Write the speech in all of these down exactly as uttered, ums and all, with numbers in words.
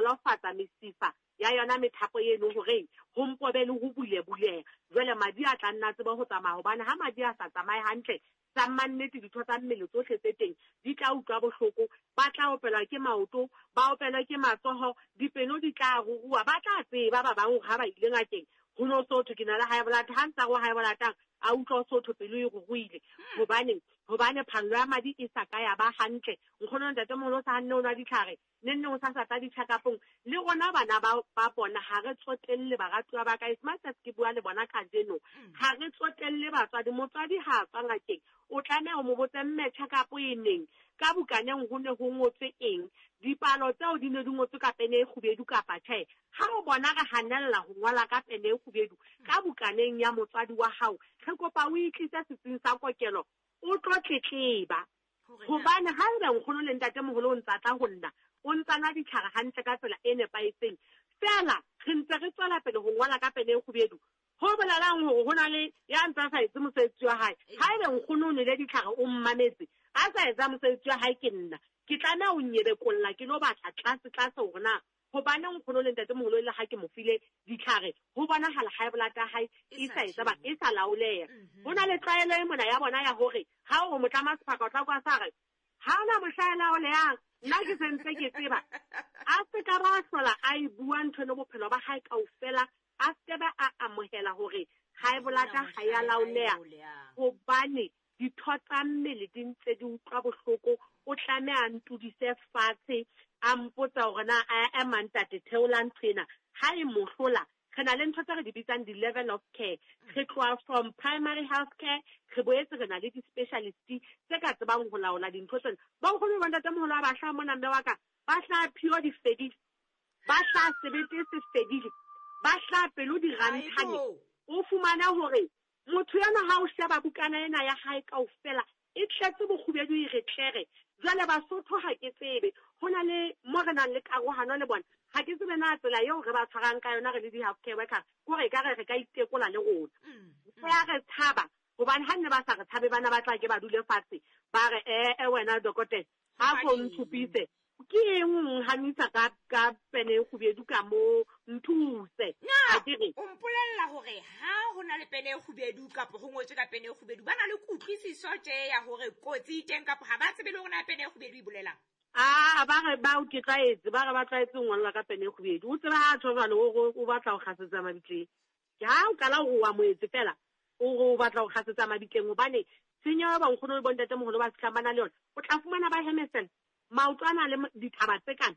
nolofatsa mesifa ya yona methapo eno hore ho mpobe le ho bulebuleha. Jwale madi a tla nna tsebe ho tsamaya, hobane ha madi a sa tsamaye hantle, tsa mannete ditho tsa mmele tsohle tse teng di tla utlwa bohloko, ba tla opelwa ke maoto, ba opelwa ke matsoho, dipelo di tla ruruwa, ba tla tseba ba bang hore ha ba ile ngakeng ho no sotho ke na le high blood, ha ntsa go high blood a utlwa sotho pelo e ruruile. Hobane hobane phallo ya madi e sa ka ya ba hantle. Nkgono ntatemoholo sa hanne o nwa ditlhare, ne nne o sa sa tla di-check-upong. Le rona bana ba ba bona ha re tsotelle baratuwa ba ka, as much as ke bua le bona kajeno, ha re tsotelle batswadi. Motswadi ha a tswa ngakeng o tlameha ho mo botse mme check-up e neng, ka bukaneng ho ne ho ngotswe eng, dipalo tseo di ne di ngotswe ka pene e kgubedu kapa tjhe. Ha o bona re hanella ho ngola ka pene e kgubedu ka bukaneng ya motswadi wa hao, re kopa o itlise setsing sa kokelo o tlo tletleba. Hobane ha ebe nkgono le ntatemoholo o ntsa tla ho nna, o ntsa nwa ditlhare hantle ka tsela e nepahetseng, feela re ntse re tswela pele ho ngola ka pene e kgubedu, ho bolelang hore ho na le ya ntsa sa etse mosebetsi wa hae. Ha ebe nkgono o nwele ditlhare o mmametse, a sa etsa mosebetsi wa hae, ke nna ke tlameha ho nyebekolla ke lo batla tlase tlase hore na hobane nkgono le ntatemoholo le ha ke mo file ditlhare ho bonahala high blood ya hae e sa etsa ba e sa laoleha. Ho na le tlwaelo e mona ya bona ya hore ha o motlama sephaka o tla kwa sa re ha ona mohlaela o leyang, nna ke sentse ke tseba. A se ka ba hlola a e bua ntho eno bophelo ba hae kaofela, a se ba a amohela hore high blood ha ya laoleha, hobane ditho tsa mmele di ntse di utlwa bohloko. O tlameha a ntudise fatshe, a mpotsa hore na a ema ntate theola ntho ena. Ha e mo hlola, re na le ntho tse re di bitsang di-level of care. Re tloha from primary health care, re boetse re na le di-specialist tse ka tsebang ho laola dintho tsena. Bonkgono ba ntatemoholo ha ba hlaha mona mme wa ka, ba hlaha phio di fedile, ba hlaha sebete se fedile, ba hlaha pelo di ranthane. O fumana hore motho ena ha o sheba bukana ena ya hae kaofela e tletse bokgubedu e re tlere. Jwale Basotho ha ke tsebe ho na le mo re nang le karohano le bona, ha ke tsebe na tsela eo re ba tshwarang ka yona re le di-healthcare workers, kore ekare re ka itekola le rona. Re a re tshaba, hobane ha nne ba sa re tshabe bana ba tla ke ba dule fatshe ba re eh wena dokotela ha ko ntshupise ke eng o nhanisa ka ka pene e kgubedu ka mo, nthuse. Na o mpolella hore ha ho na le pene e kgubedu kapa ho ngotswe ka pene e kgubedu, ba na le kutlwisiso tje ya hore kotsi e teng kapa ha ba tsebe le hore na pene e kgubedu e bolelang? Ah, ba re ba o ke tlwaetse, ba re ba tlwaetse ho ngolla ka pene e kgubedu. O tseba ha tjho jwalo o o batla ho kgasetsa mabitleng. Ke ha o qala hore wa moetse fela, o re o batla ho kgasetsa mabitleng, hobane tshenyo ya bonkgono le bontatemoholo ba fihlang ba na le yona, o tla fumana ba hemesela maoto a na le dithaba tse kana.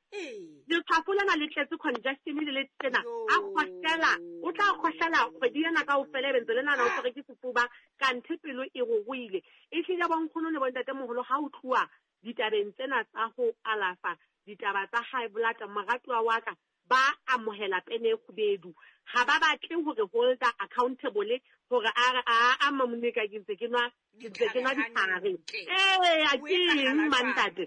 Letshwafo lena le tletse congestion le le tsena, a kgohlela, o tla kgohlela kgwedi ena kaofela, ebe ntse le nahana o tshwerwe ke sefuba, kanthe pelo e ruruile. Ehlile bonkgono le bontatemoholo ha o tluwa ditabeng tsena tsa ho alafa ditaba tsa high blood, moratuwa wa ka, ba amohela pene e kgubedu. Ha ba batle hore holder accountable hore a re a a mamone ka ke ntse ke nwa ke ntse ke nwa ditlhare. Eh, a ke eng mantate?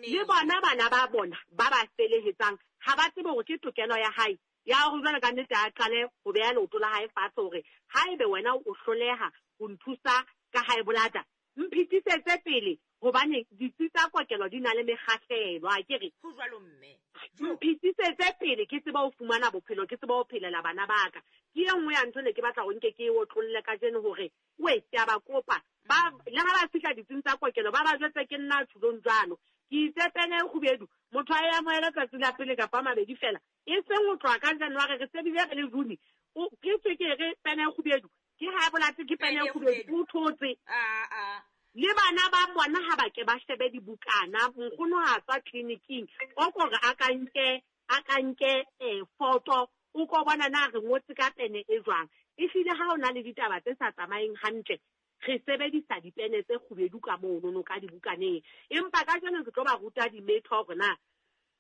Le bona bana ba bona ba ba felehetsang ha ba tsebe hore ke tokelo ya hae ya hore jwale ka nnete a qale ho beha leoto la hae fatshe hore haebe wena o hloleha ho nthusa ka high blood, mphetisetse pele, hobane ditsi tsa kokelo di na le mekgahlelo, a ke re ho jwalo mme. Mphetisetse pele ke tsebe ho fumana bophelo, ke tsebe ho phelela bana ba ka. Ke e nngwe ya ntho ne ke batla ho nke ke e otlolle kajeno hore we ke a ba kopa, ba le ha ba fihla ditsing tsa kokelo ba ba jwetse ke nna thulong jwalo. Ke itse pene e kgubedu, motho a e amohele tsatsi la pele kapa a mabedi fela, e seng ho tloha ka January re se bile re le June, o ke tswe ke re pene e kgubedu, ke high blood ke pene e kgubedu, o thotse. Ah ah. Le bana ba bona ha ba ke ba shebe dibukana, nkgono ha tswa tleliniking o kore a ka nke a ka nke eh photo, o ko bona na re ngotse ka pene e jwang. Ehlile ha o na le ditaba tse sa tsamayeng hantle, re sebedisa dipene tse kgubedu ka monono ka dibukaneng. Empa kajeno ke tlo ba ruta dimetho hore na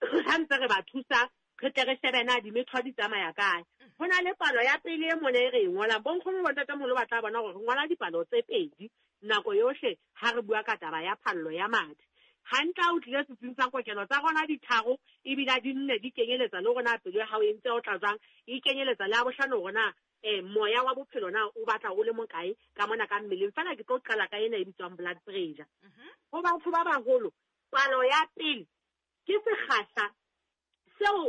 ha ntse re ba thusa re tle re shebe na dimetho di tsamaya kae. Ho na le palo ya pele e mona e re e ngolang, bonkgono le bontatemoholo ba tla bona hore re ngola dipalo tse pedi nako yohle ha re bua ka taba ya phallo ya madi. Hantle ha o tlile setsing sa kokelo tsa rona di tharo ebile di nne di kenyeletsa le hore na pelo ya hao e ntse o tla jwang, e kenyeletsa le ya bohlano hore na eh moya wa bophelo na o batla o le mokae ka mona ka mmeleng. Feela ke tlo qala ka ena e bitswang blood pressure. Ho batho ba baholo, palo ya pele ke sekgahla seo